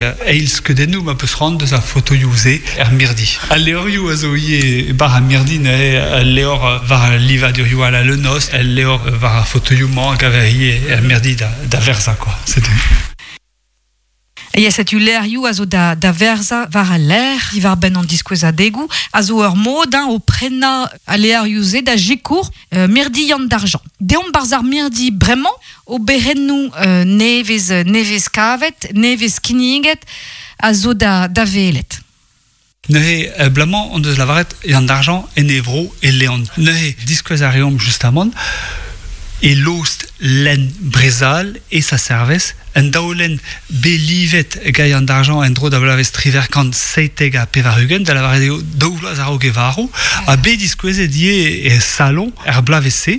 Eil skeudennoù ma peus c'hoant deus ar fotoioù-se er mirdi. Al levrioù a zo ivez e-barzh ar mirdi neuze, al levr war al livadurioù à la Le Nost, al levr war ar fotoioù-mañ a gaver ivez er mirdi da, da verzañ quoi. Setu. Ya, setu levrioù a zo da, da verzañ war al lec'h diwar-benn an diskouezadegoù, a zo ur mod hein, o prenañ al levrioù-se da sikour euh, mirdi Yann d'Argent. Deomp barzh ar mirdi bremañ, Oberennoù nevez nevez kavet, nevez kinniget a zo da da welet. Neuze, blamañ hon deus lavaret Yann d'Argent en e vro e Leon. Neuze, diskouez a reomp justamant e lost lenn Brezal e sa servez, un daolenn bet livet gant Yann d'Argent en-dro da bloavezh 1797, da lavaret eo daou vloaz a-raok e varv, ha bet diskouezet ivez e salon er bloavezh-se,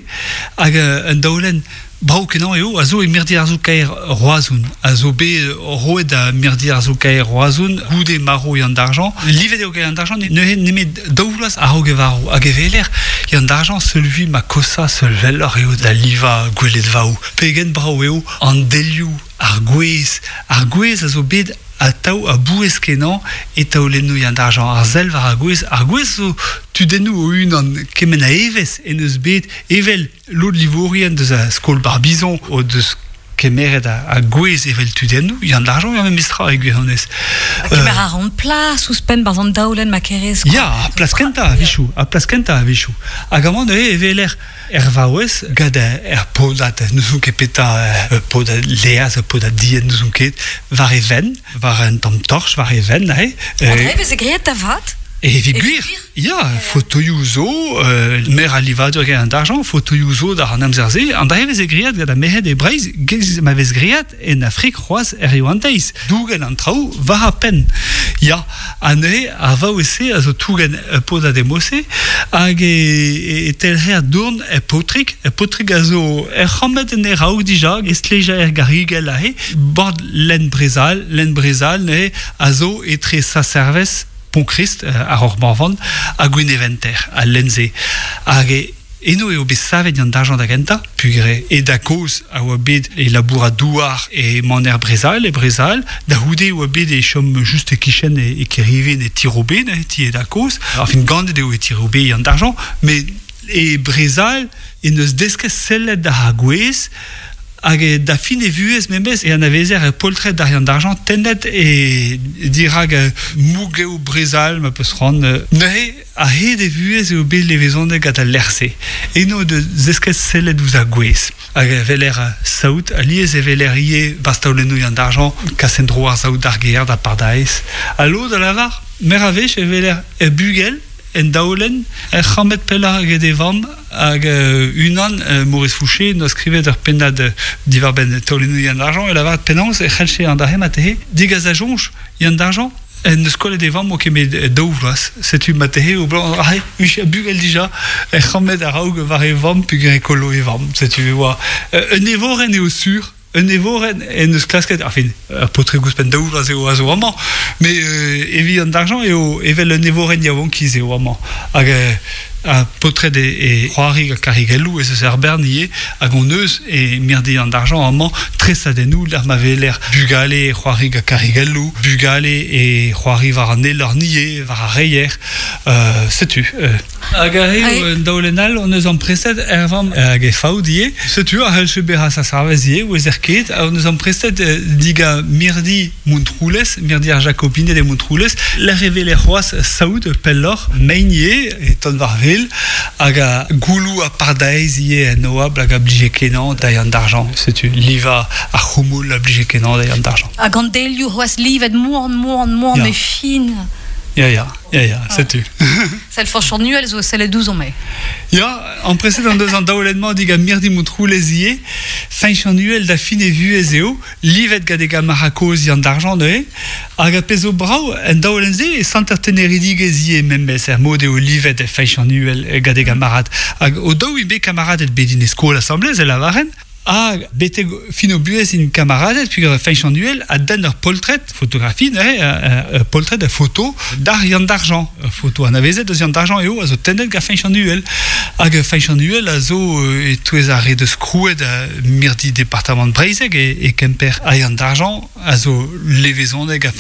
hag un daolenn Brav-kenañ eo a zo e mirdi arzoù-kaer Roazhon, a zo bet roet da mirdi arzoù-kaer Roazhon goude marv Yann Dargent. Livet eo gant Yann Dargent neuze nemet daou vloaz a-raok e varv. Hag e weler Yann Dargent seul vui ma kosa seul welloc'h eo da livañ gweledvaoù. Pegen brav eo an delioù, ar gwez. Ar gwez a zo bet atav a-bouez-kenañ e taolennoù Yann Dargent. Ar sell war ar gwez. Ar gwez zo tudennoù o-unan, kement a evezh en deus bet evel lod livourien deus a skol Barbizon o deus kemeret a gwez evel tudennoù, Yann Dargent eo memes tra e gwirionez. Kemer a ran plas ouzhpenn barzh an daolenn ma kerez. Ya, plas kentañ a-wechoù, ha plas kentañ a-wechoù. Hag amañ neuze e weler er vaouez gant er podad, n'ouzon ket petra, podad laezh, podad dienn, n'ouzon ket, war e venn, war un tamm torch war e venn neuze. An dra e veze graet da vat? Evit gwir, ya, fotoioù zo, meur a livadur gant d'argent, fotoioù zo d'ar an amzer-se, an dra e veze graet gant ar merc'hed e Breizh, giz ma vez graet en Afrik c'hoazh hiziv an deiz, dougen an traoù war ar penn. Ya, ha neuze ar vaouez-se a zo tougen ur podad emose hag e, e telc'her dourn er paotrig. Er paotrig a zo er c'hammed en e raok dija, e stleja er garigell aze, bord lenn Brezal, lenn Brezal neuze a zo etre Saint-Servez Pont-Christ, ar Roc'h-Morvan, ha Gwineventer, al lenn-se. Hag eno eo bet savet an dañjer da gentañ, peogwir e da kozh a oa bet e labourat douar e maner Brezal, e Brezal. Da c'houde e oa bet e chom just e-kichen e Kerivin, e Tirobe, e ti e da kozh. Enfin, ganet eo e Tirobe an dañjer, met e Brezal en deus desket sellet d'ar gwez Hag da fin e vuhez memes e anavezer ur poltred d'Ariane Dargent tennet e dirak mougev Brezal ma peus c'hoant. Neuze, a-hed e vuhez eo bet levezonet gant al lec'h-se. Eno deus desket sellet ouzh ar gwez. Hag e weler saout, alies e weler ivez bastaolennoù Yann Dargent, kas en-dro ar saout d'ar gêr, da Pardaez. Ha lod a lavar, meur a wech e weler ur bugel En daolenn, er c'hammed pellañ eget e vamm hag unan, Maurice Fouché, en doa skrivet ur pennad diwar-benn taolennoù Yann Dargent, e lavaret penaos e c'hellje an dra-se marteze degas da soñj Yann Dargent en deus kollet e vamm o kemet daou vloaz. Setu marteze o bloaz aze, a bugel dija, er c'hammed a-raok war e vamm peogwir e kollo e vamm. Setu e oa un evorenn eo sur. Un evorenn en deus klasket, enfin, ur paotrig ouzhpenn daou vloaz eo a zo amañ, met evit an argent eo evel un evorenn yaouankiz eo amañ. Hag ar paotred e, e c'hoari gant karigelloù ez eus er bern ivez, hag hon eus e mirdi an argent amañ tresadennoù lec'h ma weler bugale e c'hoari gant karigelloù, bugale e c'hoari war an elorn ivez, war ar reier. Setu. Hag aze eo un daolenn all hon eus amprestet er vamm hag e faout ivez. Setu a c'hellfe bezañ sa sarvez ivez, ouezer ket. Hon eus amprestet diga mirdi Montroulez, mirdi ar Jakobined e Montroulez, lec'h e weler c'hoazh saout pelloc'h, mein ivez, e ton war-wel, hag a gouloù ha pardaez ivez en oabl hag a blije kenañ da Yann Dargent. Setu livañ ar c'houmoul a blije kenañ da Yann Dargent. Hag an delioù c'hoazh livet moan, moan, moan e fin. Ya, ya. Ya, ya, setu. Sell Fañch an Uhel zo sellet ouzhomp eo. Ya, amprestet en deus an daolenn-mañ digant Mirdi Montroulez ivez. Fañch an Uhel da fin e vuhez eo, livet gant e gamarad kozh Yann Dargent neuze. Hag ar pezh zo brav en daolenn-se e santer teneridigezh ivez memes er mod eo livet Fañch an Uhel gant e gamarad. Hag o daou int bet kamaraded bet en e skol asambles e lavaren. Hag betek fin o buhez int kamaraded peogwir Feñch an Uhel a denn ur poltred, fotografi neuze, ur poltred, ur foto d'ar Yann Dargent. Ur foto anavezet eus Yann Dargent eo a zo tennet gant Feñch an Uhel. Hag Feñch an Uhel a zo e-touez ar re deus krouet mirdi departamant Breizhek e Kemper. Ha Yann Dargent a zo levezonet gant